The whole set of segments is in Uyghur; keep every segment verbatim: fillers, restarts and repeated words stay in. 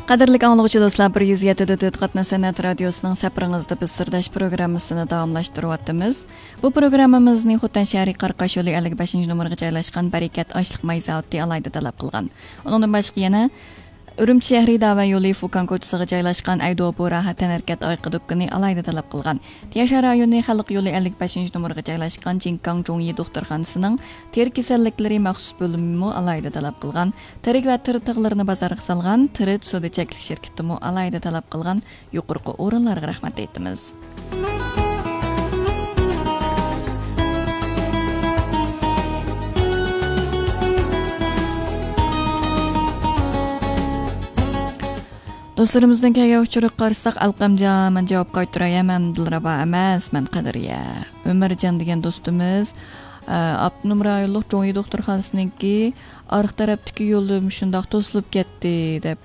قەدىرلىك ئاڭلىغۇچى دوستلار، بىر يۈز يەتتە دۆت قاتناش سەنئەت رادىيوسىنىڭ سەپىرىڭىزدە بىز سىرداش پروگراممىسىنى داۋاملاشتۇرۇۋاتىمىز. بۇ پروگراممىمىزنى خوتەن شەھىرى قاراقاش يولى ئەللىك بەشىنچى نومۇرغا جايلاشقان بەرىكەت ئاشلىق ماي زاۋۇتى ئالاھىدە تەلەپ قىلغان. ئۇنىڭدىن باشقا يەنە ئۈرۈمچى شەھىرى داۋەن يولى فۇكان كوچىسىغا جايلاشقان ئەيدۇ بۇ راھەت تەنھەرىكەت ئايىقى دۇكىنى ئالاھىدە تەلەپ قىلغان. تيەنشان رايونى خەلق يولى ئەللىك بەشىنچى نومۇرغا جايلاشقان جىنكاڭ جۇڭيى دوختۇرخانىسىنىڭ تېرە كېسەللىكلىرى مەخسۇس بۆلۈمىمۇ ئالاھىدە تەلەپ قىلغان. تېرىك ۋە تېرە تىغلىرىنى بازارغا سالغان تېرە سودا چەكلىك شىركىتىمۇ ئالاھىدە تەلەپ قىلغان يۇقىرىقى ئورۇنلارغا رەھمەت ئېيتىمىز. دوستلىرىمىزنىڭ كەلگەن ئۇچۇرىغا قارىساق، ئەلقەمجان، مەن جاۋاب قايتۇراي، ھەممەمدىن راۋا ئەمەس، مەن قەدرىيە. ئۆمەرجان دېگەن دوستىمىز، ئە، ئاپتونوم رايونلۇق جۇڭيى دوختۇرخانىسىنىڭكى ئارقا تەرەپتىكى يولى مۇشۇنداق توسۇلۇپ كەتتى، دەپ.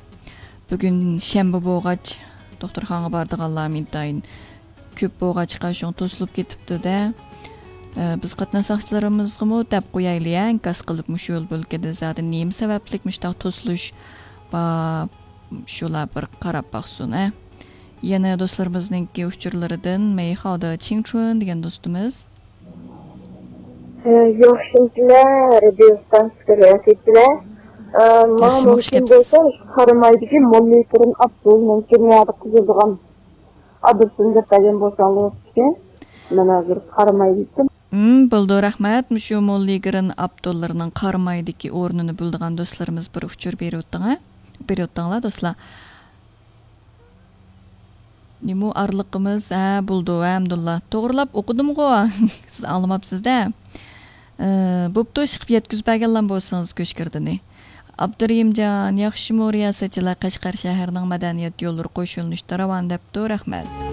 بۈگۈن شەنبە بولغاچ، دوختۇرخانىغا بارىدىغانلار ئىنتايىن كۆپ بولغاچقا، شۇڭا توسۇلۇپ كېتىپتۇ-دە. ئە، بىز قاتناش ساقچىلىرىمىزغىمۇ دەپ قويايلى، ئە، ئىنكاس قىلىپ، مۇشۇ يول بۆلىكىدە زادى نېمە سەۋەبلىك مۇشۇنداق توسۇلۇش بار، شۇلار بىر قاراپ باقسۇن، ئە. يەنە دوستلىرىمىزنىڭكى ئۇچۇرلىرىدىن مەيخاۋدا چىڭچۈن دېگەن دوستىمىز. ئە، ياخشىمۇسىلەر، رادىيو ستانسىسىدىكى رىياسەتچىلەر؟ ئە، ماڭا ياخشىمۇ، خۇش مۇمكىن كەپسىز. بولسا، قارامايدىكى موللىكرىن ئابدۇلنىڭكى نەدە قىزىلدىغان ئادرېسىنى دەپ بەرگەن بولساڭلار بوپتىكەن. مەن ھازىر قارامايدىكەن. ھىم، بولىدۇ، رەھمەت. مۇشۇ موللىكرىن ئابدۇللىرىنىڭ قارامايدىكى ئورنىنى بىلىدىغان دوستلىرىمىز بىر ئۇچۇر بېرىۋېتىڭ، ھە؟ بېرىۋېتىڭلار، دوستلار. نېمە ئارىلىقىمىز؟ ھە، بولىدۇ، ھەمدۇللا. توغرىلاپ ئوقۇدۇمغۇ؟ سىز ئاڭلىماپسىز-دە. ئى، بوپتۇ، ئىشقىپ يەتكۈزۈپ بەرگەنلا بولسىڭىز كۆشكىردىنى. ئابدۇرېھىمجان، ياخشىمۇ رىياسەتچىلەر؟ قەشقەر شەھىرىنىڭ مەدەنىيەت يوللىرى قوشۇلۇنۇشتا راۋان دەپتۇ، رەھمەت.